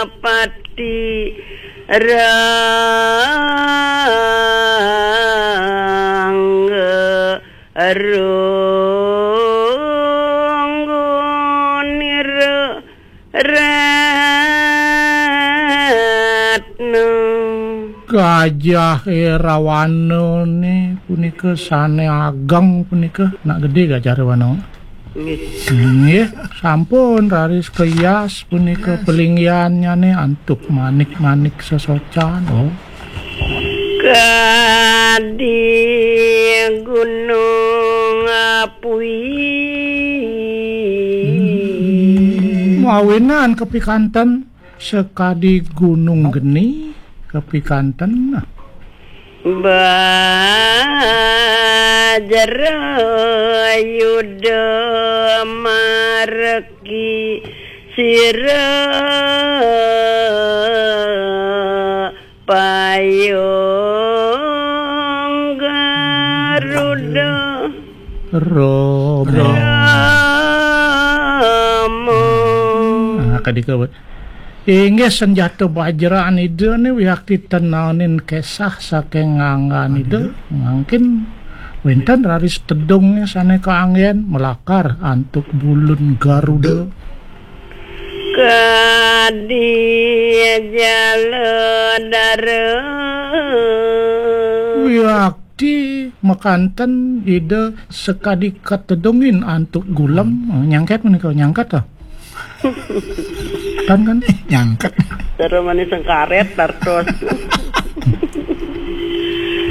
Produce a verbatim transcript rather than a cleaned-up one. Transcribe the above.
Pati Rangga Ronggonira Ratna. Gajah Irawana ne punika sane ageng punika, nak gede Gajah Irawana. Nggih. Nggih, sampun raris kayas punika pelinggiannyane antuk manik-manik sesocan. Oh. Kadi gunung api. Mawinan kepikanten sekadi gunung geni kepikanten. Bajra Yuda marki sira payung Garuda. Robo. Rama. Nah, kadika, wé. Inggih senjata bajraan Ida ni wiakti tenanin kesah saking nganggan Ida. Mangkin wénten raris tedungnya sane kaanggen melakar antuk bulun Garuda. Kadi jala dara. Wiakti makanten Ida sekadi katedungin antuk gulem. Oh, nyangket menika, nyangket to? Tan kan? Nyangket. Cara manis sengkaret tartos.